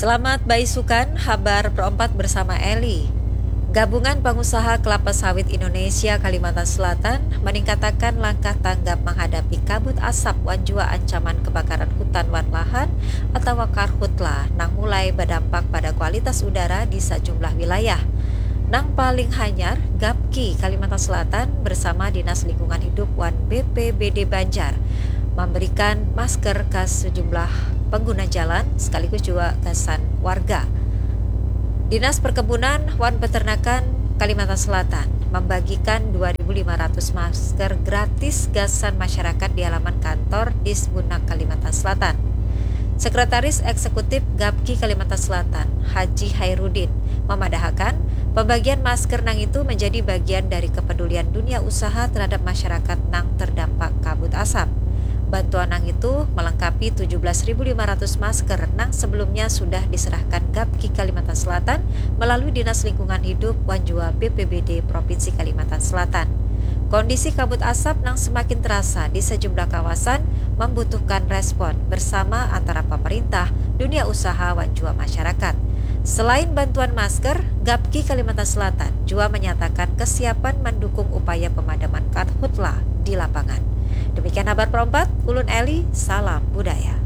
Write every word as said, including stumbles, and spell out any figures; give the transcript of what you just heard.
Selamat baisukan, habar perempat bersama Eli. Gabungan Pengusaha Kelapa Sawit Indonesia Kalimantan Selatan meningkatakan langkah tanggap menghadapi kabut asap wan jua ancaman kebakaran hutan wan lahan atau karhutla nang mulai berdampak pada kualitas udara di sejumlah wilayah. Nang paling hanyar, Gapki Kalimantan Selatan bersama Dinas Lingkungan Hidup wan B P B D Banjar memberikan masker ke sejumlah pengguna jalan sekaligus juga gasan warga. Dinas Perkebunan wan Peternakan Kalimantan Selatan membagikan dua ribu lima ratus masker gratis gasan masyarakat di halaman kantor Disbunak Kalimantan Selatan. Sekretaris Eksekutif Gapki Kalimantan Selatan, Haji Hairudin, memadahakan pembagian masker nang itu menjadi bagian dari kepedulian dunia usaha terhadap masyarakat nang terdampak kabut asap. Bantuan nang itu melengkapi tujuh belas ribu lima ratus masker nang sebelumnya sudah diserahkan Gapki Kalimantan Selatan melalui Dinas Lingkungan Hidup wan jua B P B D Provinsi Kalimantan Selatan. Kondisi kabut asap nang semakin terasa di sejumlah kawasan membutuhkan respon bersama antara pemerintah, dunia usaha, wan jua masyarakat. Selain bantuan masker, Gapki Kalimantan Selatan jua menyatakan kesiapan mendukung upaya pemadaman karhutla di lapangan. Demikian habar perempat, ulun Eli, salam budaya.